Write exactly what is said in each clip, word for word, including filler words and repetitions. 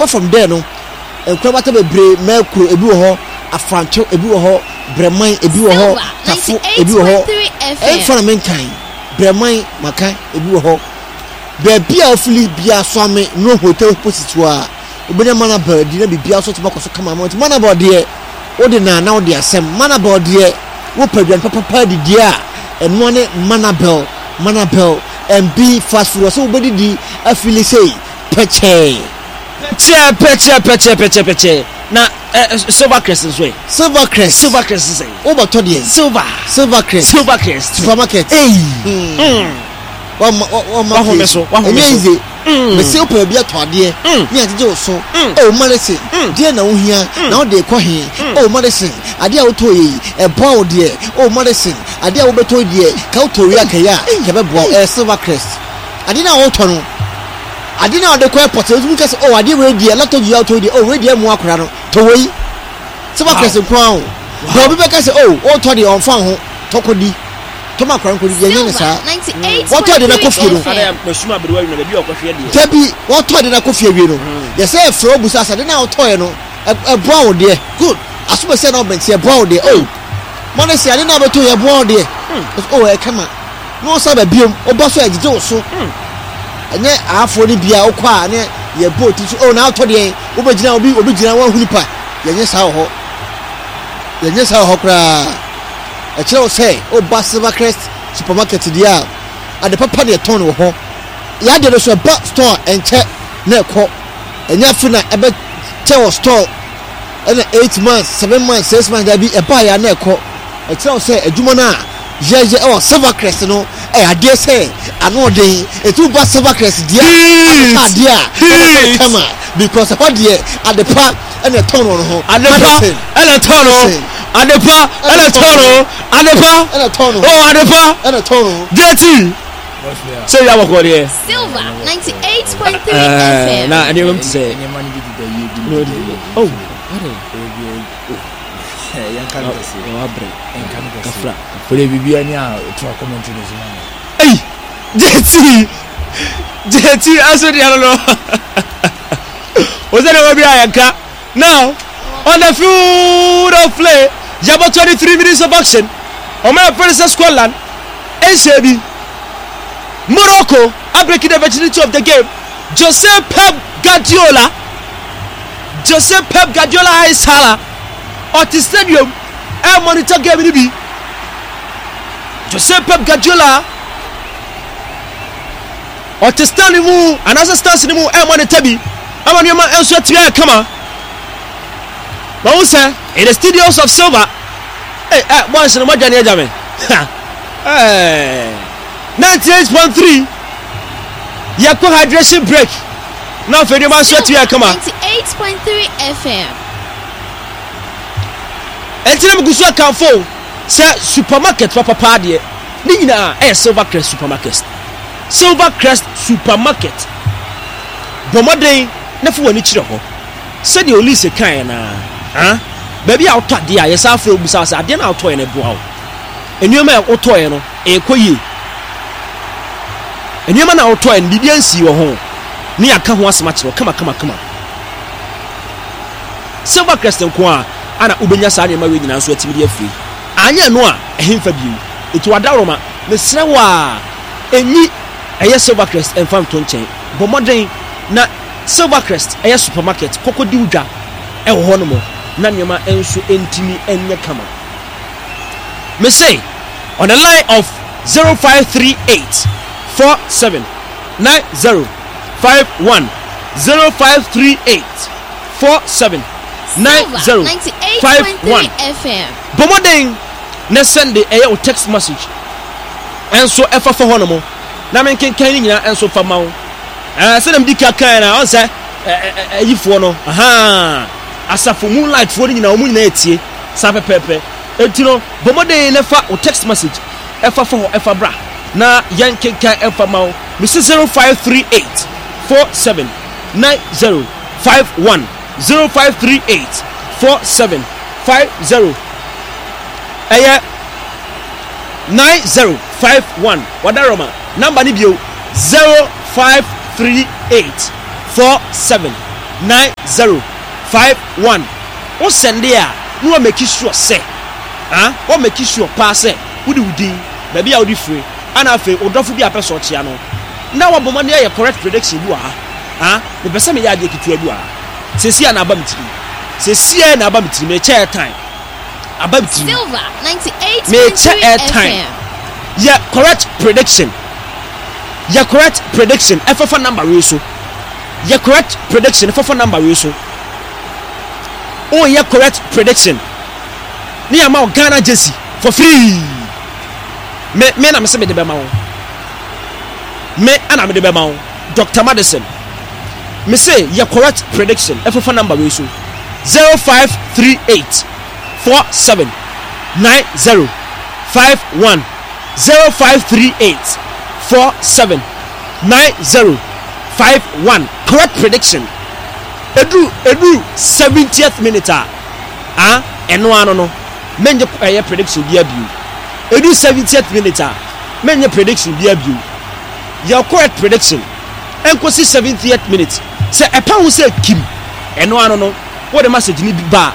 Apart from there no, nkorabata bebree, Mɛkuro ebi wɔ hɔ, Afranto ebi wɔ hɔ, Brɛman ebi wɔ hɔ, Tafo ebi wɔ hɔ. Ɛnfa na menkan Brɛman maka ebi wɔ hɔ. Baabi a ofili bia Soame no hotel opposite hɔ a, wobɛnya Manabel di na biribiara nso tumi akɔ so kama ama. Nti Manabel deɛ, wode na na wode asɛm. Manabel deɛ, wopɛ aduane papapa didie a, ɛnoa ne Manabel. Manabel M B fast food, ɔsɛ wobɛdidi afili sei pɛkyɛɛ. Pɛkyɛɛ, pɛkyɛɛ, pɛkyɛɛ, pɛkyɛɛ, pɛkyɛɛ. Na ɛ Silver Crest nso ɛ? Silver Crest. Silver Crest sɛ? Wobɛtɔ deɛ? Silver. Silver Crest. Silver Crest Supermarket. Eyi. Wama wama. Wahome so, wahome ɛnyɛ so. Easy. Mesi wopɛ baabi atɔ adeɛ ne agyegye wo so. Oh Madison, deɛ na wohia na wode kɔ he? Oh Madison, adeɛ a wotɔ yɛ yi, ɛboa wo deɛ? Oh Madison, adeɛ a wobɛtɔ yi deɛ, ka wotɔ wie akɛyɛ a ka ɛbɛboa wo. Ɛyɛ Silver Crest. Adeɛ no a wotɔ no, adeɛ no a wode kɔ airport, wotumi ka sɛ, oh, adeɛ wei deɛ, laptop yi a wotɔ yi deɛ, oh, wei deɛ mmoa akora no, tɔ wei. Silver Crest nko ara o. Bɛ obi bɛka sɛ, oh, wotɔ deɛ, ɔmfa wo ho, tɔ kɔdi, tɔ ma akora no kɔdi. Yɛnyɛ ne saa. Wɔtɔ de no akɔ fie no, dabi, wɔtɔ de no akɔ fie awie no, yɛsɛ ɛfrɛ wo busa sɛ ade no a wotɔeɛ no, ɛboa wo deɛ? Good. Asomɛsɛ na wobɛnti, ɛboa wo deɛ? Oh, ma no sɛ ade no a wobɛtɔ yɛ, ɛboa wo deɛ? Oh, ɛkama na wɔsa ba biom, woba so a, ɛgyegye wo so. Ɛnyɛ aafoɔ no bia wokɔ a ne yɛbɔ ti so, oh, na wotɔ deɛ, wobɛgyina obi obi gyina woahu nipa. Yɛnyɛ saa wɔ hɔ, yɛnyɛ saa wɔ hɔ koraa. Ɛkyerɛ wo sɛ woba Silver Crest Supermarket deɛ a, ade papa deɛ tɔn wɔ hɔ. Yɛade no so ɛba store a, ɛnkyɛ na ɛkɔ. Ɛnyɛ afe na ɛbɛkyɛ wɔ store ɛna eight months, seven months, six months, dabi, ɛbaa yɛ a na ɛkɔ. Ɛkyerɛ wo sɛ adwuma no a yɛyɛ ɛwɔ Silver Crest no, ɛyɛ adeɛ sɛ ano ɔden. Ɛti woba Silver Crest deɛ a, adeɛ a ɛbɛtɔ kama because ɛhɔ deɛ, ade pa ɛna ɛtɔn wɔ no ho. Adepa ɛna tɔn no, adepa ɛna tɔn no, adepa. Ɛna tɔn no. Oh, adepa. Ɛna tɔn no. J T sɛ yà wɔ kɔ deɛ. Silver ninety-eight point three F M. Na nneɛma mu ti sɛ nneɛma no bi deda yie bi no deda yie. Oh. Yɛnka no kɛseɛ. Wabrɛ. Yɛnka no kɛseɛ. Kafra. Wode biribia ni a toa commentary no so ma me. Eyi J T J T aso deɛ no no o sɛ deɛ wɔbi a yɛnka. Now on the field of play, yabɔ twenty three minutes of action. Ɔmo yɛ fɛn sɛ Scotland ɛnhyɛ bi. Morocco abreaking the virginity of the game. Jose Pep Guardiola, Jose Pep Guardiola Aisala, ɔte stadium ɛ monitor game ni bi. Jose Pep Guardiola ɔte stand mu anaasɛ stands ni mu ɛ monitor bi ama nneɛma nso atumi ayɛ kama. Wɔn sɛ in the studios of Silver ɛ ɛ boys no mo adwane agya me ɛɛ ninety eight point three. Yɛkɔ hydration break na afei nneɛma nso atumi ayɛ kama. ninety-eight point three F M. Ɛnti na megu so akamfo sɛ supermarket papapa deɛ ne nyinaa ɛyɛ Silver Crest Supermarket. Silver Crest Supermarket, bɔ mmɔden na fa w'ani kyerɛ hɔ sɛdeɛ Olise kaeɛ naa ah baabi a wotɔ adeɛ a, yɛsa afrɛ wo bisa sɛ adeɛ no a wotɔeɛ no ɛboa wo, nneɛma a wotɔeɛ no ɛkɔ yie, nneɛma no a wotɔeɛ no biribi ansii wɔ ho ne yɛaka ho asɛm akyerɛ wo kama kama kama. Silver Crest nko a ana wobɛnya saa nneɛma wei nyinaa nso atumi de afiri. Anyɛ no a, ɛhemfa bio? Ɛti wadaworoma, mesrɛ wo a, ɛnyi ɛyɛ Silver Crest ɛmfa nto nkyɛn. Bɔ mmɔden na Silver Crest ɛyɛ supermarket kɔkɔ di wo dwa ɛwɔ hɔ nom na nneɛma nso ntumi nyɛ kama. Mese on the line of zero five three eight four seven nine zero five one, zero five three eight four seven nine Silver zero five one. ninety-eight point three F M. Bɔ mmɔden na send ɛyɛ wo text message ɛnso ɛfa fa hɔ nom na menkenkan ne nyinaa ɛnso fa ma wo. ɛɛ sɛdeɛ medi ka kan na ɔn sɛ ɛɛ ɛyifoɔ no ahan asafo Moonlight foɔ no nyinaa, wɔn nyinaa etie saa pɛpɛɛpɛ. Eti no, bɔ mmɔden na fa wo text message ɛfa fa hɔ, ɛfa bra na yɛn kenkan ɛfa ma wo. Mesi zero five three eight four seven nine zero five one, zero five three eight four seven five zero ɛyɛ nine zero five one. Wadaroma number ni bio, zero five three eight four seven nine zero five one. Wo sɛnde a, na wa make sure sɛ, ah, wa make sure paa sɛ wode wo din, baabi a wode firi, ana afei wo dɔfo bi a pɛ sɛ ɔkyea no, na wabɔ mmɔden ayɛ correct prediction bi wɔ ha. Ah, mepɛ sɛ meyɛ adeɛ ketewa bi wɔ ha. Seesei a na aba me tirim. Seesei a na aba me tirim. Mekyɛ airtime. Aba me tirim. Silver Mekyɛ ninety-eight point three airtime. F M. Yɛ correct prediction. Yɛ correct prediction. Ɛfɛfa number wei so. Yɛ correct prediction. Ɛfɛfa number wei so. Oh, yɛ correct prediction. Ne yɛ ma wo Ghana jersey for free. Me me na me se me de bɛma wo. Me ana me de bɛma wo. Doctor Madison. Me se yɛ correct prediction. Ɛfɛfa number wei so. zero five three eight four seven nine zero five one zero five three eight four seven nine zero five one. Correct prediction. Edu edu seventieth minute a, ah, ɛno ano no menye ɛyɛ prediction bi abio. Edu seventieth minute a, menye prediction bi abio. Yɛ correct prediction ɛnkosi seventieth minute sɛ ɛpa ho sɛ kim ɛno ano no wode message ni bi ba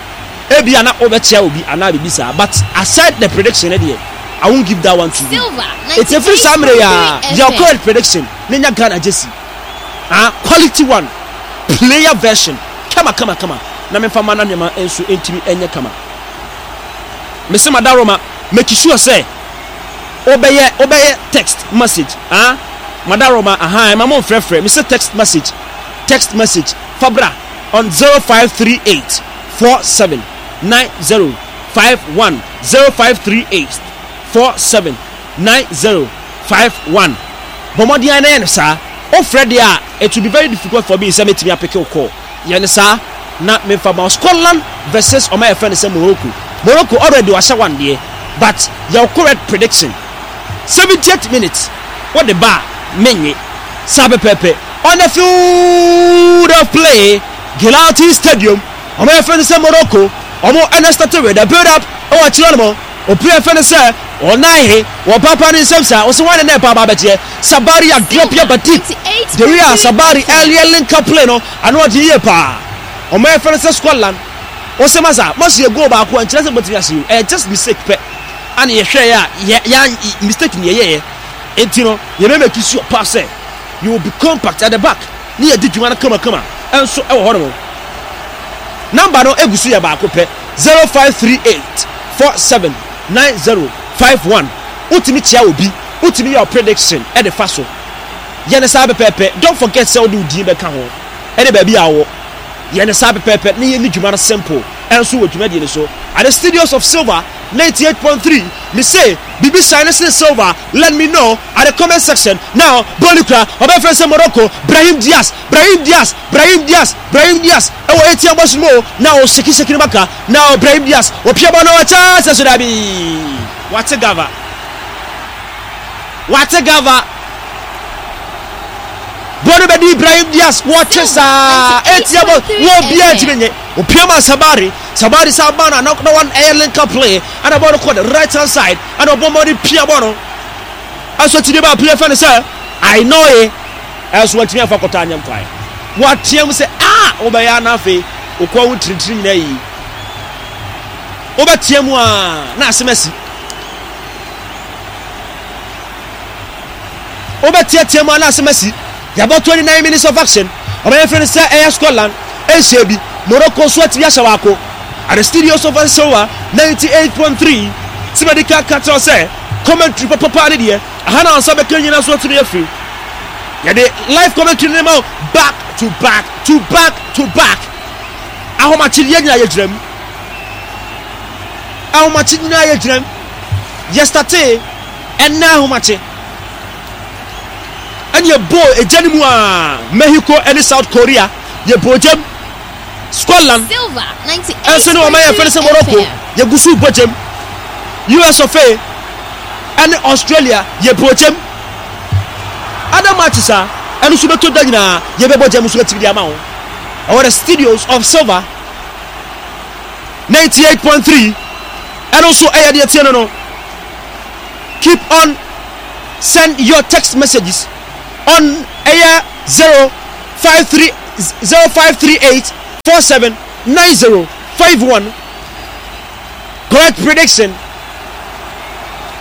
a, ebia na wobɛkyia obi anaa biribi saa, but aside the prediction ne deɛ, I won't give that one to you. Silver Eti efiri saa mmerɛ yi a, ninety-eight point three yɛ F M. correct prediction ne nya Ghana jersey, ah, quality one, player version, kama kama kama, na memfa ma na nneɛma nso ntumi nyɛ kama. Mese madaroma, make sure sɛ wobɛyɛ wobɛyɛ text message. Ah, madaroma, aha, ɛma mo mfrɛfrɛ. Mese text message, text message fabra on zero five three eight four seven nine zero five one zero five three eight four seven nine zero five one. Bɔmmɔden na yɛ no saa. Wofrɛ deɛ a, it will be very difficult for me sɛ mɛtumi apick wo call. Yɛ no saa na memfa ma wo. Scotland versus ɔma yɛfrɛ no sɛ Morocco. Morocco already wahyɛ one deɛ, but yɛ correct prediction seventieth minute wode ba a, menye saa pɛpɛɛpɛ. On the field of play, Gelati Stadium, ɔmo yɛfrɛ no sɛ Morocco, ɔmo ɛna start with the build up ɛwɔ akyerɛ no mo. Obi yɛfrɛ no sɛ ɔnahe wɔ papa ne nsɛm saa ɔsɛ wɔn ne pa aba abɛgyeɛ Sabari adrop yɛ ba deep. The way a Sabari earlier link up play no ano ɔde yie paa. Ɔmo yɛfrɛ no sɛ Scotland, ɔsɛ masa masa yɛ goal baako a nkyerɛ sɛ bɔtumi ahyɛ o, ɛyɛ just mistake pɛ ana yɛhwɛ yɛ a yɛ yɛ mistake ni yɛyɛ yɛ nti no yɛbɛ make sure paa sɛ you will be compact at the back ne yɛ di dwuma no kamakama ɛnso ɛwɔ hɔ nom. Number no egu so yɛ baako pɛ, zero five three eight four seven nine zero five one. Wotumi kyia obi, wotumi yɛ prediction ɛde fa so, yɛ ne saa pɛpɛɛpɛ. Don't forget sɛ wode wo din bɛka ho ɛne baabi a wɔ. Yɛ ne saa pɛpɛɛpɛ ne yɛ ni dwuma no simple ɛnso wɔ dwumadie no so at the studios of Silver ninety-eight point three. Me se bibi shine ne Silver, let me know at the comment section now. Bɔɔlu kura ɔbɛfrɛ sɛ Morocco, Brahim Diaz, Brahim Diaz, Brahim Diaz, Brahim Diaz ɛwɔ eighteen bɔ so mu na o sheki sheki ne baka na Brahim Diaz wɔpia bɔ no ɔkyɛ sɛ so dabi, wate gava, wate gava. Bɔɔlu bɛdi Ibrahim Diaz, wɔtwe saa eighteen bɔ wɔ biara ntumi nye opia ma Sabari. Sabari sa ba na na one ɛyɛ link up play ɛna bɔɔlu kɔ the right hand side ɛna ɔbɔ mmɔden pia bɔɔlu ɛso ti de ba pia fɛn sɛ Ainoe ɛso wɔntumi afa kɔtɔ anyɛ nkwae. Wɔateɛ mu sɛ a wobɛyɛ ana afei okɔ wo ntirintiri nyinaa yi wobɛteɛ mu a na asɛm asi wobɛteɛteɛ mu a na asɛm asi. Yɛabɔ twenty-nine minutes of action. Ɔbɛyɛ fɛ no sɛ ɛyɛ Scotland ɛnhyɛ bi, Morocco nso atumi ahyɛ baako. At the studios of Silver ninety-eight point three, sɛmɛdi ka ka kyerɛ sɛ commentary papapa ne deɛ aha na nsa bɛka nyina so atumi afiri. Yɛde live commentary ne ma wo back to back to back to back. Ahomakye yɛ nyinaa yɛgyina mu, ahomakye nyinaa yɛgyina mu. Yɛstart ɛnna ahomakye ɛne yɛbɔ egya no mu a, Mexico ɛne South Korea yɛbɔ gyam, Scotland Silver ɛnso ne wɔn ayɛ fɛn sɛ Morocco ninety-eight point three F M. Yɛgu so bɔ gyam, U S of A ɛne Australia yɛbɔ gyam. Other matches a ɛno nso bɛtɔ da nyinaa yɛbɛbɔ gyam nso atumi de ama wo ɛwɔ the studios of Silver ninety-eight point three. Ɛno nso ɛyɛ deɛ tie no no Keep on send your text messages on ɛyɛ zero five three zero five three eight four seven nine zero five one. Correct prediction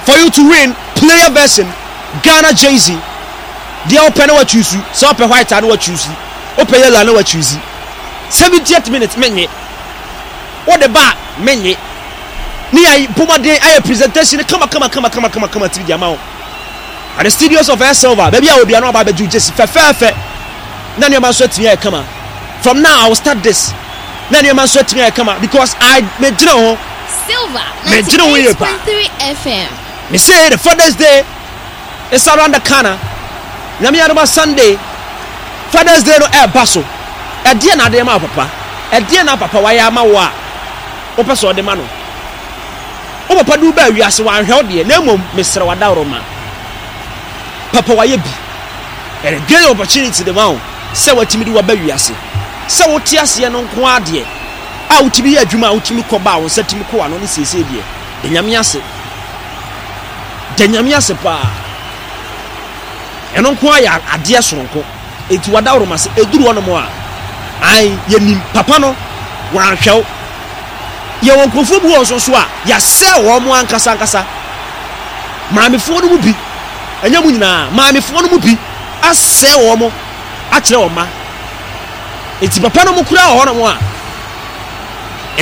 for you to win player version Ghana jersey. Deɛ wopɛ na wachuusu, sɛ wopɛ white a na wachuusi, wopɛ yellow a na wachuusi. seventieth minute menye, wode ba a menye. Ne yɛ bɔmmɔden ayɛ presentation kama kama kama kama kama kama tiri di ama wo. At the studios of Air Silver, baabi a obia no aba abɛgye wo jersey fɛfɛɛfɛ na nneɛma nso atumi ayɛ kama. From now I will start this. Na nneɛma nso atumi ayɛ kama because I megyina ho. Silver Megyina ho yie paa. ninety-eight point three F M. Me say the Father's Day is around the corner. Nyame adoma, Sunday Father's Day no ɛɛba so. Ɛdeɛ na adeɛ ma wo papa? Ɛdeɛ na papa wayɛ ama wo a wopɛ sɛ ɔde ma no? Wo papa de wo baa wiase, wanhwɛ wo deɛ, na mmom mesrɛ wadaworo ma papa wayɛ bi. Ɛyɛ great opportunity de ma wo sɛ watumi de waba wiase, sɛ wote aseɛ no nko adeɛ a wotumi yɛ adwuma a wotumi kɔ ba a wo nsa tumi kɔ ano ne seesei deɛ, da Nyame ase, da Nyame ase paa. Ɛno nko ayɛ adeɛ soronko. Enti wadaworo ma sɛ ɛduru hɔnom a, an yɛnim papa no wanhwɛ wo. Yɛwɔ nkurɔfoɔ bi wɔ nso so a yɛasɛ wɔn mo ankasa ankasa. Maamefoɔ no mu bi, ɛnyɛ mu nyinaa, maamefoɔ no mu bi asɛ wɔn mo akyerɛ wɔn mma. Enti papa no mu kura wɔ hɔnom a,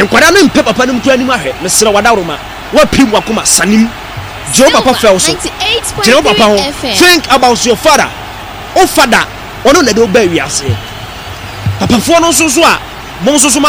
nkwadaa no mpɛ papa no mu kura anim ahwɛ. Mesrɛ wadaworo ma wapim wakoma sanim. Gye wo papa fɛw so, gyina wo papa ho. Think about your father. Wo father, ɔno na de wo ba wiase. Papafoɔ no nso so a mo nso so ma